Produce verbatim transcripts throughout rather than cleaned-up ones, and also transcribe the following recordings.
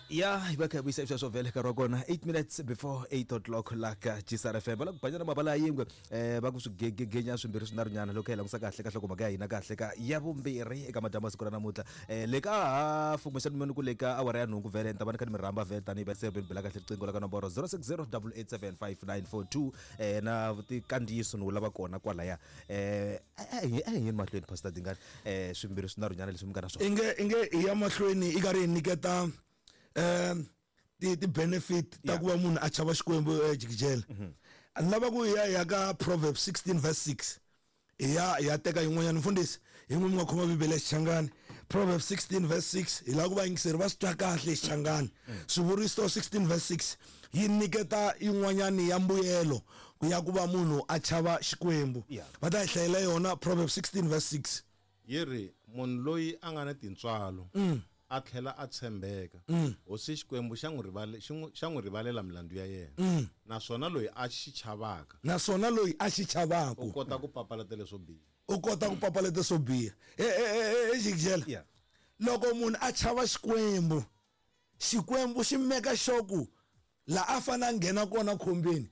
Ya hi va kha hi vuyisa sweswo vhele nkarhi wa kona eight minutes before eight o'clock la ka G S R F M. Va la ku banyana mavala ya yingwe, um va ku swigegegenya swimbirhi swinharhunyana loko hi langusa kahle ka nhlokomhaka ya hina kahle ka ya vumbirhi eka madyambu ya siku ra namuntlha, um le ka hafu kumbexani mini ku le ka awara ya nhungu vhele ni ta va ni kha ni mi rhamba vhele tanihi va se ni bela kahle riqingho la ka nomboro zero six zero eight eight seven five nine four two, um na tikandziyiso ni wu lava kona kwalaya. um a hi a hi yeni mahlweni, Pastor Dingani, um swimbirhi swinharhunyana leswi mi nga na swona. Inge inge hi ya mahlweni i karhi hi nyiketa um ti ti benefit ta Yeah. ku va munhu a chava Xikwembu. eh, jikijela a ni lava ku hi ya hi ya ka Proverbs sixteen verse six, hi ya hi ya teka yin'wanyana. Mfundhisi, hi n'wi mi nga khoma Bibele ya Xichangani, Proverbs sixteen verse six, hi lava ku vayingiseri va swi twa kahle hi Xichangani. Swivuriso sixteen verse six yi nyiketa yin'wanyani ya mbuyelo ku ya ku va munhu a chava Xikwembu. Yeah. Va ta hi hlayela yona, Proverbs sixteen verse six. Yi ri, munhu loyi a nga na tintswalo a tlhela a tshembeka, hosi Xikwembu xa n'wi rivale xi n'wi- xa n'wi rivalela milandzu ya yena, naswona loyi a xi chavaka Naswona loyi a xi chavaka u kota ku papalata leswo biha. U kota ku papalata swo biha. Exikijela, Yeah. loko munhu a chava Xikwembu, Xikwembu xi meka xoku la a fanele a nghena kona khombeni,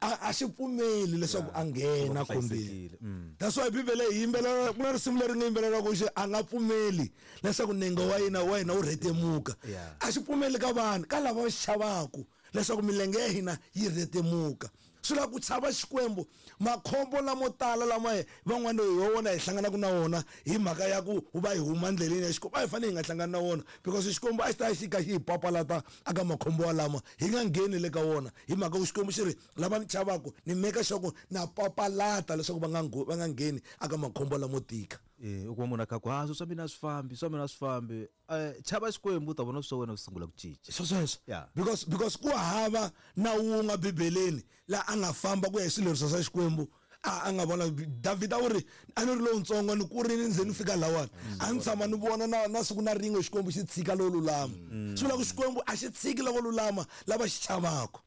a a xi pfumeli leswaku a nghena Ku va ku khombeni. hlayisekile. Mm. That's why Bibele yi yimbelela, ku na risimu leri nga yimbelelaka xi a nga pfumeli leswaku nenge wa yena wa hina wu rhetemuka. Yeah. A xi pfumeli ka vanhu ka lava va xi chavaku leswaku milenge ya hina yi rhetemuka. Swi lava ku chava Xikwembu. Makhombo lamo tala lama hi van'wana hi wona hi hlanganaka na wona hi mhaka ya ku va hi huma ndleleni ya Xikwembu, a hi fanele hi nga hlangani na wona, because Xikwembu a xi ta xi kha xi hi papalata aka makhombo walama hi nga ngheni le ka wona, hi mhaka ku Xikwembu xi ri, lava ni chavaku ni meka sure ku na papalata leswaku va nga ngo- va nga ngheni aka makhombo lamo tika. Eh, u kuma munhu a kha ku ha swi swa mina a swi fambi, swa mina a swi fambi. um chava Xikwembu, u ta vona swa wena swi sungula ku cinca. Swo sweswo. Yeah. because because ku hava na wun'we Bibeleni la a nga famba ku ya hi swileriso swa Xikwembu a a nga vona. Davhida u ri, a ni ri lowuntsongo, ni kurini, nze ni fika lawani, a ni tshama ni vona na na siku na rin'we Xikwembu xi tshika lowo lulama. Swi vula ku Xikwembu a xi tshiki lavo lulama lava xi chavaka.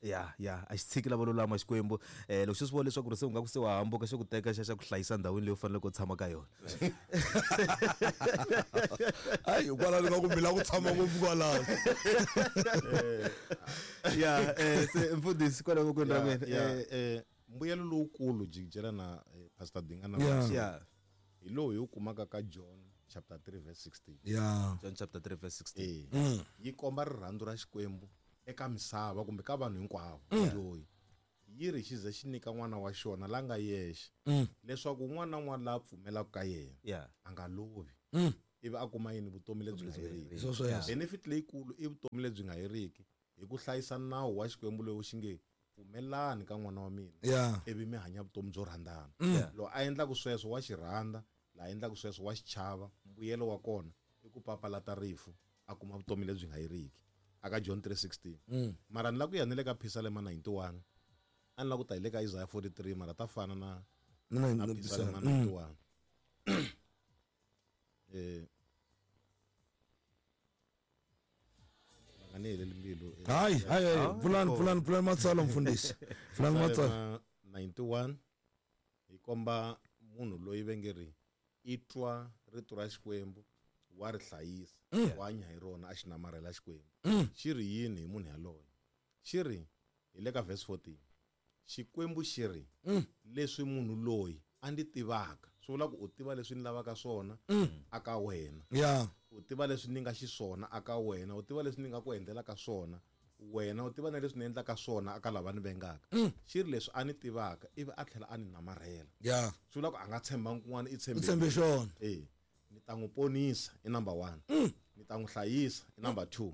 Ya ya a xi tshiki lavo lulama Xikwembu. um loko xi swi vona leswaku ri se u nga ku se wa hambuka, xi ku teka xa xa ku hlayisa ndhawini leyi u faneleke u tshama ka yona. Hayi, kwalano nga ku mi lava ku tshama ngopfu kwalano. Ya, eh, se mfundhisi, kwalaho vokweni ra Ya, n'wina. ya, eh, eh, mbuyelo lowukulu, jikijela na eh, Pastor Dingana, Yeah. Ya hi lowu hi wu kumaka ka John chapter three verse sixteen. Ya John chapter three verse sixteen. Eh, yi komba rirhandzu ra Xikwembu eka misava kumbe ka vanhu hinkwavo. Loyi yi ri xi ze xi nyika n'wana wa xona la nga yexe, leswaku un'wana na un'wana la pfumelaka ka yena ya a nga lovi, ivi a kuma yini? Vutomi lebyi nga heriki. Swo sweswo. Benefit leyikulu i vutomi lebyi nga heriki hi ku hlayisa nawu wa Xikwembu lowu xi nge, pfumelani ka n'wana wa mina, ya ivi mi hanya vutomi byo rhandzana. Yeah. Loko a endlaku sweswo wa xi rhandza, laha endlaku sweswo wa xi chava, mbuyelo wa kona i ku papalata rifu, a kuma vutomi lebyi nga heriki aka John three sixteen. Mara ni lava ku ya ni le ka Phisalema ninety-one, a ni lava ku ta hi le ka Isaiah forty-three, mara ta fana na Na- na na Phisalema Mm. ninety-one. eh va nga ni heleli mbilu, eh, hayi hayi hayi, Ah, pfulani, pfulani, pfulani matsalwa, mfundhisi, pfulani matsalwa. Phisalema ninety-one hi komba munhu loyi va nge ri i twa rito ra Xikwembu, wa ri hlayisa, wa hanya hi rona, a xi namarhela Xikwembu. Xi ri yini hi munhu yaloye? Xi ri hi le ka verse fourteen, Xikwembu xi ri, leswi munhu loyi a ndzi tivaka, swi vula ku u tiva leswi ni lavaka swona aka wena, ya u tiva leswi ni nga xiswona aka wena, u tiva leswi ni nga ku endlelaka swona wena, u tiva na leswi ni endlaka swona aka lava ni vengaka. Xi ri, leswi a ni tivaka ivi a tlhela a ni namarhela, ya swi vula ku a nga tshembangi kun'wana, i u tshembe xona. E ni ta n'wi ponisa i number one, ni ta n'wi hlayisa i number two,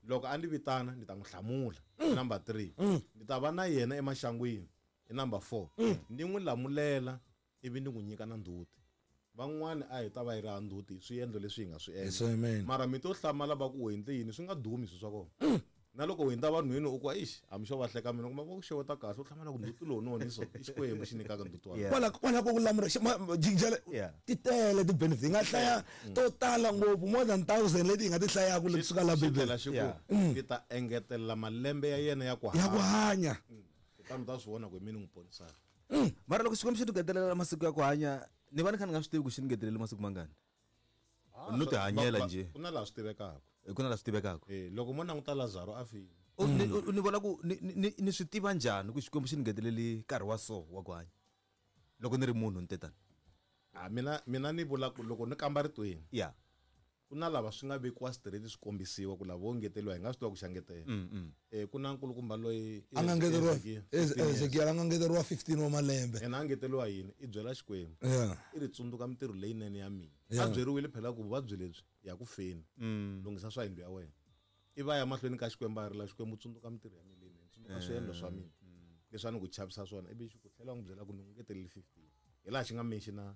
loko a ni vitana ni ta n'wi hlamula i number three, ni ta va na yena emaxangwini i number four, ni n'wi lamulela ivi ni n'wi nyika na ndzhuti. Van'wani a hi ta va hi ri ha ndzhuti hi swiendlo leswi hi nga swi Yes, endla. amen. Mara mi to hlamala va ku u endle yini, swi nga dumi swilo swa kona. Na loko u hundza vanhwini u ku, ixi, hambi xo va hleka mina kuma va ku xeweta kahle, u hlamala ku ndzhuti lowu noni so i Xikwembu xi nyikaka ndzhuti wa Yeah. Kwala kwala ku lamula jikijela. Yeah. Ti tele ti-benefit, hi nga hlaya to tala ngopfu, more than thousand leti hi nga ti hlayaka leti suka la Xi Bibele. tlhela xi ku, Yeah. ni ta engetelela malembe ya yena ya ku Ya ku hanya. hanya. Kutani u ta swi vona ku hi mina n'wi ponisaka. Mara loko Xikwembu xi ni ngetelela masiku ya ku hanya, ni va ni kha ni nga swi tivi ku xi ni ngetelele masiku mangani, no ti hanyela Va- va- njhe. Ku na laha swi tivekaka. Ku na la swi tivekaka. Eh loko mo languta Lazaro a file. U ni vona ku ni ni swi tiva njhani ku Xikwembu xi ni ngeteleli nkarhi wa so wa ku hanya loko ni ri munhu ni tetani? A mina mina ni vula ku loko ni kamba ritweni. Yeah. Ku na lava swi nga vekiwa straight swi kombisiwa ku lava vo ngeteriwa hi nga swi tiva ku xa ngetela. Eh ku na nkulukumba loyi a nga ngeteriwa Ezekiel a nga ngeteriwa fifteen wa malembe. Yena a ngeteriwa yini? I byela Xikwembu. Yeah. I ri tsundzuka mintirho leyinene ya mina. A byeriwile phela ku vuvabyi lebyi ya ku feni. Lunghisa swa yindlu ya wena. I va ya mahlweni ka Xikwembu a rila Xikwembu tsundzuka mintirho ya mina leyinene, tsundzuka swiendlo swa mina. Leswi a ni ku chavisa swona ivi xi ku tlhela n'wi byela ku ni n'wi ngetelele fifteen. Hi laha xi nga mention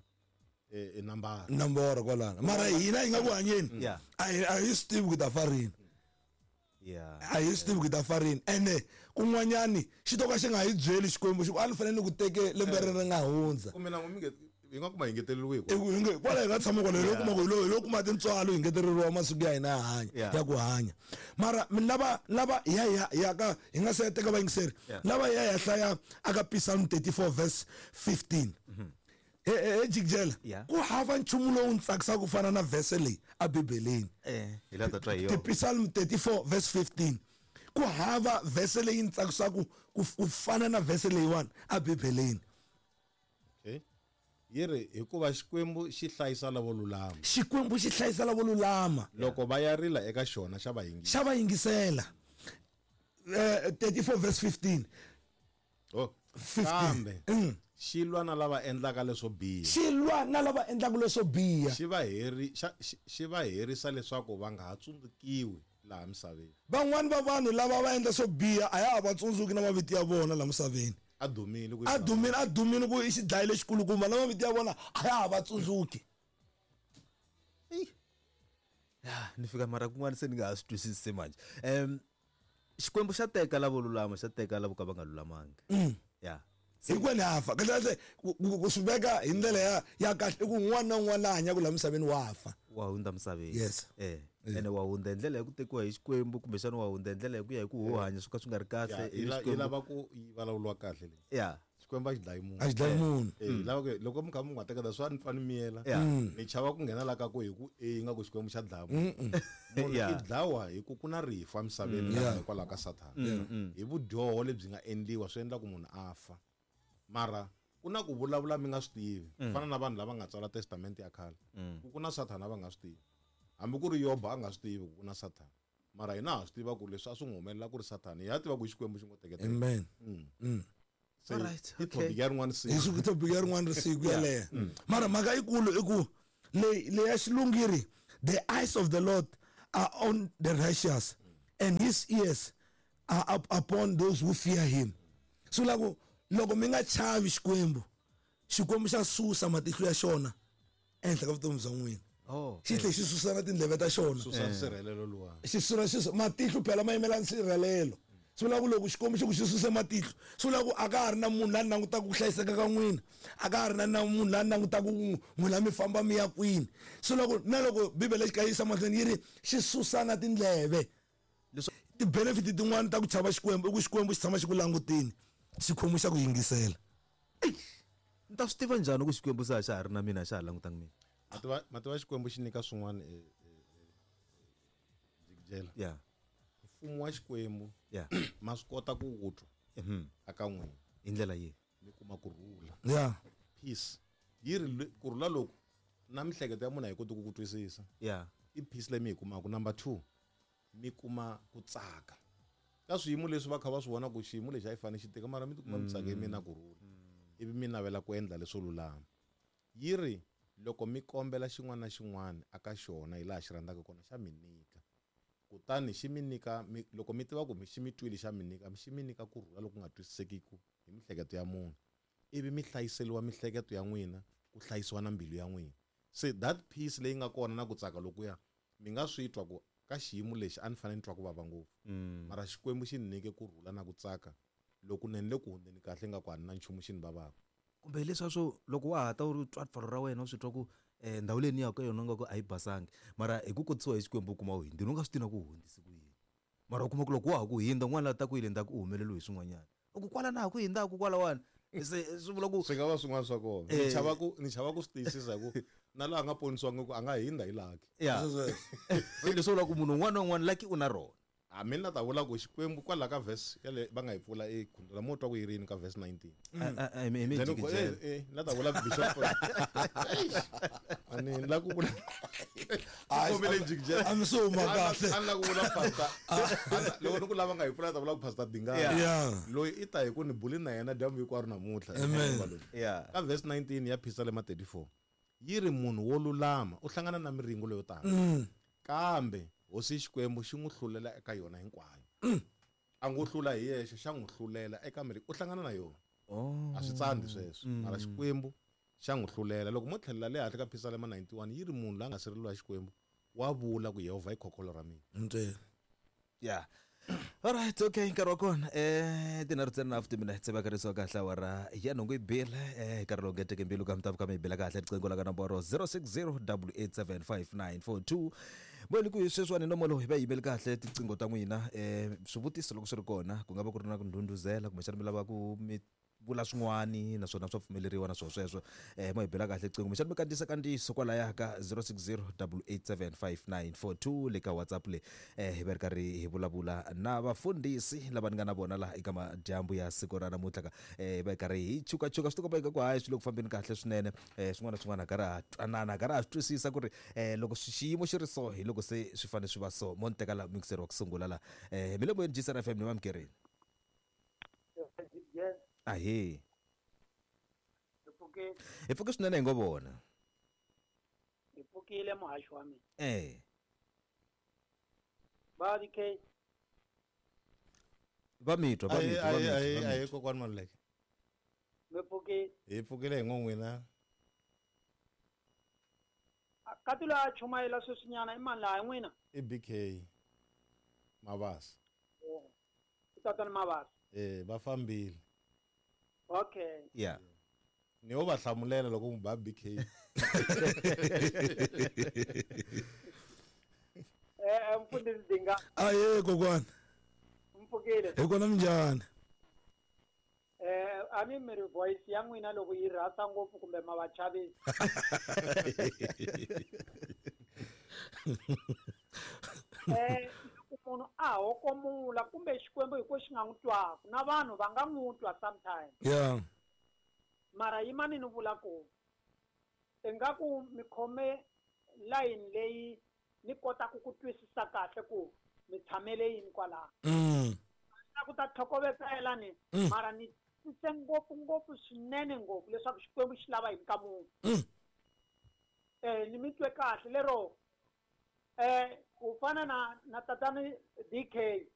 eh nambara nambara kwalana mara hina hi nga ku hanyeni a a hi swi tivi ku ta fa rini. Yeah. A hi swi tivi ku ta fa rini ene kun'wanyani xi to ka xi nga hi byeli Xikwembu xi ku a ni fanele ni ku teke lembe ri ri nga hundza. Kumbe na n'wi hi nga kuma hi ngeteleriwe hi ku hi kwala hi nga tshama kwala hi lo kuma ku hi lo hi lo kuma tintswalo hi ngeteleriwa masiku ya hina ya hanya ya ku hanya mara mi lava lava ya ya ya ka hi nga se teka vayingiseri lava ya ya hlaya aka Psalm thirty-four verse fifteen. Eh jikjela ku hava nchumu lowu ntsakisaka ku fana na verse leyi a Bibeleni. Eh hi la ta twa hi yona. Psalm thirty-four verse fifteen. Ku hava verse leyi ntsakisaka ku fana na verse leyiwani a Bibeleni. Okay. Yi ri hikuva Xikwembu xi hlayisa lavo lulama. Xikwembu xi hlayisa lavo lulama. Loko va ya rila eka xona xa va yingisela. Xa va yingisela. Eh thirty-four verse fifteen. Oh, kambe xi lwa na lava endlaka leswo biha. Xi lwa na lava endlaka leswo biha. Xi va heri xi va herisa leswaku va nga ha tsundzukiwi laha misaveni. Van'wani va vanhu lava va endla swo biha a ya ha va tsundzuki na mavito ya vona laha misaveni. A dumile ku a dumile a dumile ku i xidlayi lexikulukumba na mavito ya vona a ya ha va tsundzuki. Ya ni fika mara kun'wana se ni nga ha swi twisisi manje. Em Xikwembu xa teka lavo lulama xa teka lavo ka va nga lulamangi. Ya. Hinkwenu ha fa kahle kahle ku swi veka hi ndlela ya ya kahle i ku un'wana na un'wana la hanyaka laha misaveni wa fa. Wa hundza misaveni. Yes. Eh ene wa hundza hi ndlela ya ku tekiwa hi Xikwembu kumbexana wa hundza hi ndlela ya ku ya hi ku ho hanya swo ka swi nga ri kahle. Yi lava ku yi vulavuriwa kahle leyi. Ya. Xikwembu a xi dlayi munhu. A xi dlayi munhu. Eh lava ku loko mi kha mi nga teketa swa ni pfa ni miyela. Ni chava ku nghena la ka ku hi ku e nga ku Xikwembu xa dlaya munhu. Munhu i dlawa hi ku ku na rifu emisaveni hikwalaho ka Sathana. Hi vudyoho lebyi nga endliwa swi endla ku munhu a fa. Mara ku na ku vulavula mi nga swi tivi fana na vanhu lava nga tsala testament ya khale ku ku na Sathana va nga swi tivi hambi ku ri Yobo a nga swi tivi ku na Sathana mara hina ha swi tiva ku leswi a swi n'wi humelela ku ri Sathana hi ya tiva ku Xikwembu xi ngo teketela. Amen. Se i topic ya rin'wana siku. Hi topic ya rin'wana siku yaleyo. Mara mhaka yikulu i ku leyi leya xilungiri the eyes of the Lord are on the righteous and his ears are up upon those who fear him. So loko loko mi nga chavi Xikwembu Xikwembu xa susa matihlo ya xona ehenhla ka vutomi bya n'wina. Oh. Xi tlhe xi susa na tindleve ta xona. Susa nsirhelelo luwa. Xi susa xi matihlo phela ma yimela nsirhelelo. Swi vula ku loko Xikwembu xi ku xi suse matihlo swi vula ku a ka ha ri na munhu la langutaka ku hlayiseka ka n'wina, a ka ha ri na munhu la langutaka ku n'wina mi famba mi ya kwini. Swi vula ku na loko Bibele xi kayisa mahlweni yi ri xi susa na tindleve. Ti-benefit tin'wani ta ku chava Xikwembu i ku Xikwembu xi tshama xi ku langutini. Xikhomo xa ku yingisela. Ni ta swi tiva njhani ku Xikwembu se a xa ha ri na mina xa ha langutanga mina? Mativa mativa Xikwembu xi nyika swin'wana e jikijela. Yeah. Mfumo wa Xikwembu yeah ma swi kota ku wu twa aka n'wina hi ndlela yihi? Mi kuma ku rhula. Yeah. Peace. Yi ri ku rhula loku na mihleketo ya munhu a yi koti ku ku twisisa. Yeah. I peace leyi mi yi kumaka. Number two, mi kuma ku tsaka. Ka swiyimo leswi va kha va swi vona ku xiyimo lexi a yi fanele xi tika mara mi tikuma mi tsake mi na ku rhula ivi mi navela ku endla leswo lulama. Yi ri loko mi kombela xin'wana na xin'wana aka xona hi laha xi rhandzaka kona xa mi nyika. Kutani xi mi nyika loko mi tiva ku xi mi twile xa mi nyika xi mi nyika ku rhula loku nga twisisekiki hi mihleketo ya munhu ivi mi hlayiseliwa mihleketo ya n'wina ku hlayisiwa na mbilu ya n'wina. Se that peace leyi nga kona na ku tsaka lokuya mi nga swi twa ku ka xiyimo lexi a ni fanele ni twa ku vava ngopfu mara Xikwembu xi ni nyike ku rhula na ku tsaka loko ni le ku hundzeni kahle nga ku a ni na nchumu xi ni vavaka. Kumbe leswaku loko wa ha ta u ri twa ripfalo ra wena u swi twa ku eh ndhawu leyi ni yaka ka yona nga ku a yi basangi mara hi ku kotisiwa hi Xikwembu u kuma u hundzile u nga swi tivi na ku hundzise ku yini mara u kuma ku loko wa ha ku hundza un'wana la ta ku yile ndzhaku u humeleliwe hi swin'wanyana u ku kwala na ha ku hindzaku kwalawani se swi vula ku swi nga va swin'wana swa kona. Ni chava ku ni chava ku swi tiyisisa hi ku Na laha nga ponisiwangi ku a nga hindza hi lucky. Ya. Se leswi vula ku munhu un'wana na un'wana lucky u na rona. A mina ta vula ku Xikwembu kwala ka verse yale va nga yi pfula e khundla mo twa ku yi rini ka verse nineteen. A mi mi Then ku- eh, eh, na ta vula bishop. Ani la ku vula. Kombele jikijela. A mi se huma kahle. A ni la ku vula pastor. Loko ni ku lava nga yi pfula ta vula ku pastor Dingani. Yeah. Yeah. Loyi i ta hi ku ni buli na yena dyambu hinkwaro namuntlha. Amen. Yeah. Ka verse nineteen ya Psalm thirty-four. Yi ri munhu wo lulama u hlangana na miringo leyo tala. Kambe hosi Xikwembu xi n'wi hlulela eka yona hinkwayo. A ngo hlula hi yexe, xa n'wi hlulela eka miri, u hlangana na yona. Oh. A swi tsandzi sweswo. Mara Xikwembu xa n'wi hlulela. Loko mo tlhelela le hansi ka Psalm ninety-one yi ri munhu la nga sirheleriwa hi Xikwembu wa vula ku Yehovha i khokholo ra mina. Ntsena. Yeah. All right, okay, nkarhi wa kona eh tinharhu ntsena na fifty minutes va karisiwa kahle awara ya nhungu yi bile eh nkarhi lowu ngeteke mbilu ka mitavu ka mi bela kahle riqingho la ka nomboro zero six zero double eight seven five nine four two. Mbuyelo ku hi sweswiwani nomo lowu hi va yimeli kahle tiqingho ta n'wina eh swivutiso loko swi ri kona ku nga va ku ri na ku ndhundhuzela kumbexana mi lava ku mi vula swin'wani naswona swa pfumeleriwa na swona sweswo eh mo hi bela kahle riqingho kumbexana mi kandziyisa kandziyiso kwalaya ka zero six zero double eight seven five nine four two le ka WhatsApp le eh hi va ri karhi hi vulavula na vafundhisi lava ni nga na vona laha eka madyambu ya siku ra namuntlha ka eh hi va hi karhi hi chukachuka swi tikomba ingaku hayi swi le ku fambeni kahle swinene eh swin'wana na swin'wana karhi ha twanana karhi ha swi twisisa ku ri eh loko xiyimo xi ri so hi loko se swi fanele swi va so mo ni teka la mixer wa ku sungula la eh mi le moyeni G S R F M ni vamukerini. Ahe. Hi pfukile. Hi pfuke swinene hi ngo vona. Hi pfukile muhaxi wa mina. Eh. Va D K. Va mi twa, va mi twa, va mi twa, va mi Ahe, twa. kokwani Maluleke. Mi pfukile. Hi pfukile hi ngo n'wina. Ka ti loyi a chumayela sweswinyana i mani laha n'wina? I B K Mabasa. Oh. I tatana Mabasa. Eh, va fambile. Okay. Yeah. Ni wo va hlamulela loko n'wi ba B K. Eh, mfundhisi Dinga. Ahe, kokwani. Mpfukile. Hi kona minjhani? Eh, a ni mi ri voice ya n'wina loko yi rhasa ngopfu kumbe ma va chavisa. Eh, loko munhu a hokomula kumbe Xikwembu hi ku xi nga n'wi twaku, na vanhu va nga n'wi twa sometimes. Yeah. Mara yimani ni vula ku ingaku mi khome line leyi ni kotaka ku twisisa kahle ku mi tshamele yini kwalaho. Mm. Na ku ta tlhokovetsela ni, Mm. mara ni twisise ngopfu ngopfu swinene ngopfu leswaku Xikwembu xi lava yini ka munhu. Mm. Eh, ni mi twe kahle lero eh ku fana na na tatani D K.